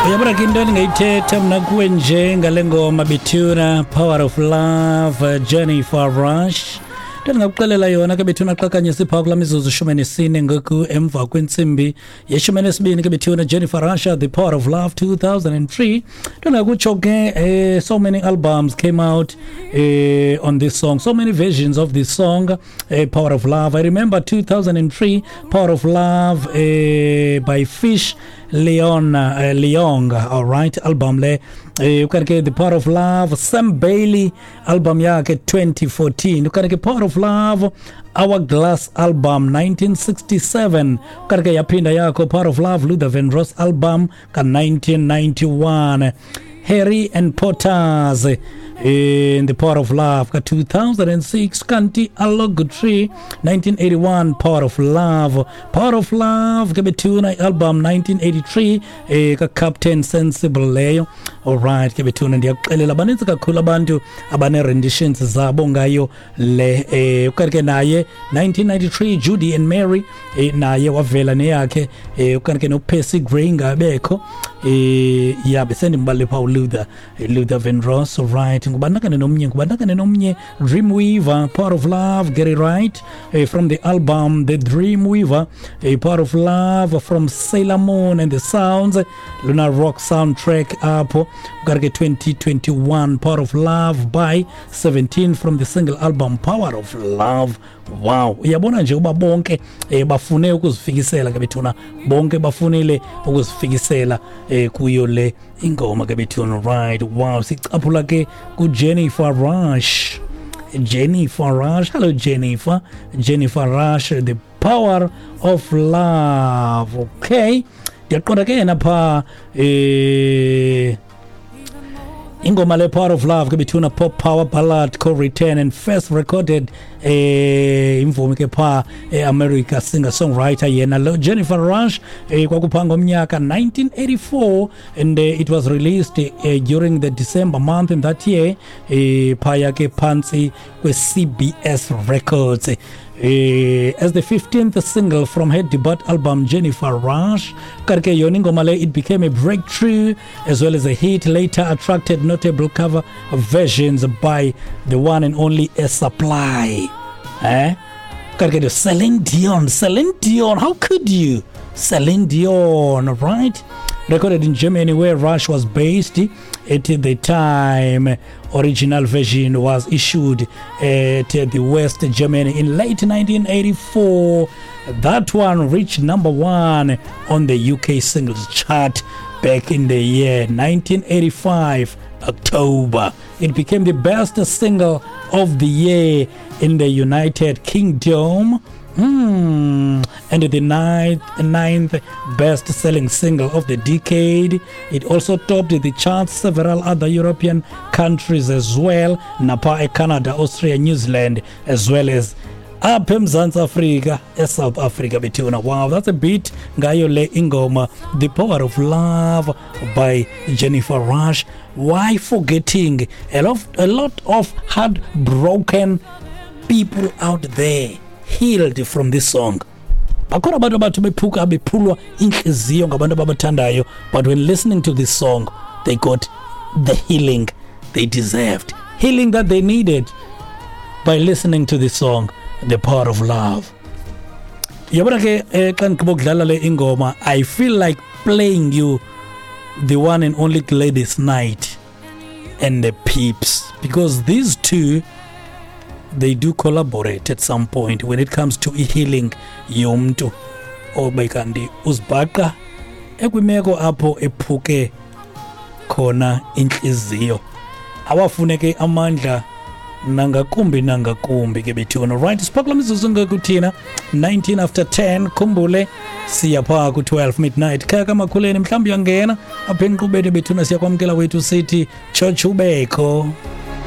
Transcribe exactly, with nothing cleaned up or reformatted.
Uyabona ke, into endingayithetha mna kuwe nje ngale ngoma bethuna, Power of Love, Jennifer Rush, into endingakuxelela yona ke bethuna, xa kanye siphaa kulaa mizuzu shumi nesine ngoku emva kwentsimbi yeshumi nesibini ke bethuna, Jennifer Rush, The Power of Love, two thousand three. Into endingakutsho ke, eh, so many albums came out eh, on this song, so many versions of this song, eh, Power of Love. I remember two thousand three, Power of Love eh, by Fish Leon uh, Leong, all right, album le. eh ukanti ke The Power of Love, Sam Bailey, album yakhe twenty fourteen. Ukanti ke Power of Love, Hourglass album, nineteen sixty-seven. Ukanti ke yaphinda yakho Power of Love, Luther Vandross album ka nineteen ninety-one. Harry and Potters in The Power of Love ka two thousand six. Kanti Arlo Guthrie, nineteen eighty-one, Power of Love. Power of Love ke bethuna, album nineteen eighty-three, eh ka Captain Sensible leyo. Alright ke bethuna, ndiyakuxelela, baninzi kakhulu abantu abane renditions zabo ngayo le. eh ukanti ke naye nineteen ninety-three, Judy and Mary, eh, naye wavela neyakhe. eh ukanti ke no Percy Gray ngabekho. eh ya besendimbale pha uLuther Luther Vandross. Alright, ngubandakane nomnye ngubandakane nomnye Dreamweaver, Power of Love, Gary Wright, eh, from the album The Dreamweaver. A Power of Love from Sailor Moon and the Sounds Lunar Rock soundtrack apho. Ukanti ke twenty twenty-one, Power of Love by seventeen from the single album Power of Love. Wow, uyabona nje uba bonke eh, bafune ukuzifikisela ke bethuna, bonke bafunile ukuzifikisela eh, kuyo le ingoma ke bethuna. Right, wow, sicaphula ke ku Jennifer Rush. Jennifer Rush, hello Jennifer. Jennifer Rush, The Power of Love. Okay, ndiyaqonda ke yena phaa, eh ingoma le Power of Love ke bethuna, pop power ballad, co-written and first recorded eh imvumi ke pha eAmerica, singer songwriter yena lo Jennifer Rush, eh kwakupha ngomnyaka nineteen eighty-four, and uh, it was released uh, during the December month in that year, eh phaya ke phansi kwe C B S Records, eh, as the fifteenth single from her debut album Jennifer Rush. Kanti ke yona ingoma le, it became a breakthrough as well as a hit, later attracted notable cover versions by the one and only Air Supply, eh kanti ke Celine Dion. Celine Dion, how could you? Celine Dion, right? Recorded in Germany, where Rush was based at the time. Original version was issued at the West Germany in late nineteen eighty-four. That one reached number one on the U K singles chart back in the year nineteen eighty-five, October. It became the best single of the year in the United Kingdom. Mm. And the ninth, ninth best selling single of the decade. It also topped the charts several other European countries as well. Napa, Canada, Austria, New Zealand, as well as apha eMzantsi Afrika, eSouth Africa bethuna. Wow, that's a bit ngayo le ingoma, The Power of Love by Jennifer Rush. Why forgetting a lot, a lot of heartbroken people out there healed from this song. Bakhona abantu abathi bephuka, bephulwa inhliziyo ngabantu ababathandayo, but when listening to this song, they got the healing they deserved, healing that they needed by listening to this song, The Power of Love. Yabona ke, eh, xa ndigqiba ukudlala le ingoma, I feel like playing you the one and only Gladys Knight and the Pips, because these two, they do collaborate at some point when it comes to healing yomntu obe kanti uzibhaqa ekwimeko apho ephuke khona inhliziyo, awafuneke amandla nangakumbi nangakumbi ke bethuna. Right, siphakula mizuzu ngakuthina nineteen after ten. Khumbule, siya phaa ku-twelve midnight. Khaya kamakhuleni, mhlawumbi uyangena apha enkqubeni bethuna, siyakwamkela wethu, sithi tshotsho ubekho.